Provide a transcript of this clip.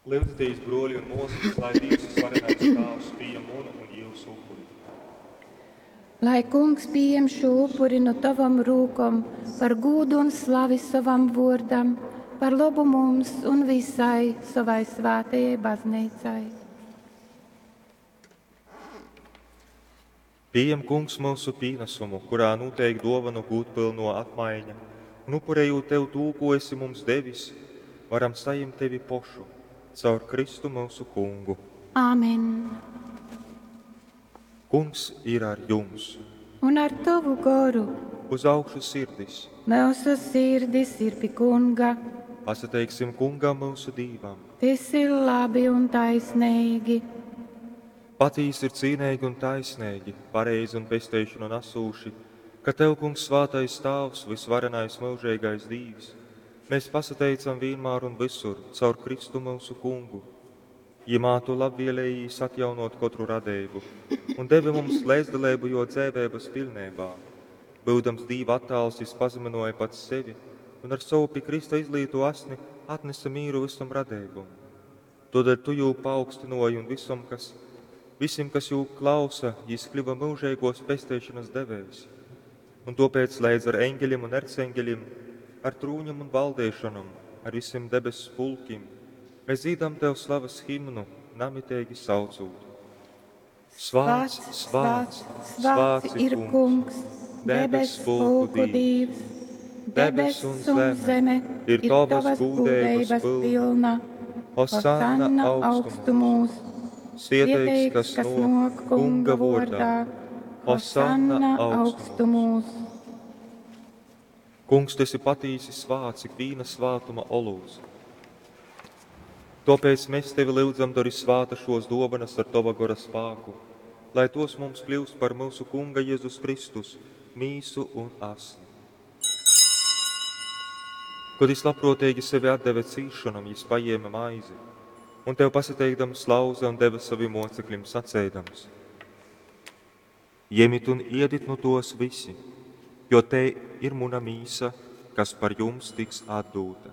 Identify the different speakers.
Speaker 1: Lyudzitīs, bruoļi un muosys, lai Dīvs Vysvarenais Tāvs pījem munu un jiusu upuri.
Speaker 2: Lai Kungs pījem šū upuri nu tovom rūkom par gūdu un slavi sovam vuordam, par lobu mums un visai sovai svētajai bazneicai.
Speaker 1: Pījem, Kungs, myusu pīnasumu, kurā nūteik duovonu gūdpylnuo apmaiņa, un upurejūt Tev tū, kū esi mums devis, varam sajimt Tevi pošu, caur Kristu myusu Kungu.
Speaker 2: Āmen.
Speaker 1: Kungs ir ar jums!
Speaker 2: Un ar tovu goru.
Speaker 1: Uz augšu sirdis!
Speaker 2: Myusu sirdis ir pi Kunga.
Speaker 1: Pasateiksim Kungam, myusu Dīvam!
Speaker 2: Tys ir labi un taisneigi.
Speaker 1: Patīsi ir cīneigi un taisneigi, pareizi un pesteišonu nasūši, ka Tev, Kungs, svātais Tāvs, vysvarenais myužeigais Dīvs, mēs pasateicam vīnmār un vysur caur Kristu myusu Kungu. Jymā Tu labvielējīs atjaunōt kotru radeibu un devi mums leidzdaleibu Jō dzeiveibas piļneibā. Byudams Dīva attāls, Jys pazamynōja pats sevi un ar sovu pi krysta izlītū asni atnese mīru vysom radeibom. Tōdēļ Tu Jū paaugstynōji un vysom, kas, visim, kas Jū klausa, Jys kļyva myužeigōs pesteišonas devējs. Un tōpēc leidz ar eņgeļim un erceņgeļim, ar trūņim un valdeišonom, ar visim debess pulkim, mēs dzīdam Tev slavas himnu, namiteigi saucūt:
Speaker 2: Svāts, svāts, svāts ir Kungs, debess pulku Dīvs. Debess un zeme ir tovas gūdeibas pilna.
Speaker 1: Hosanna
Speaker 2: augstumūs.
Speaker 1: Svieteigs, kas nōk Kunga vōrdā.
Speaker 2: Hosanna augstumūs.
Speaker 1: Kungs, Tu esi patīsi svāts, ikvīna svātuma olūts. Tōpēc mēs Tevi lyudzam, dori svāta šos dōvanas ar Tova gora spāku, lai tos mums kļūst par myusu Kunga Jezus Kristus mīsu un asni. Kod jys labprōteigi sevi atdeve cīsšonom, jys pajēme maizi un Tev pasateikdams lauze un deve savim mocekļim saceidams: Jemit un iedit nu tos visi, jo tei ir muna mīsa, kas par jums tiks atdūta.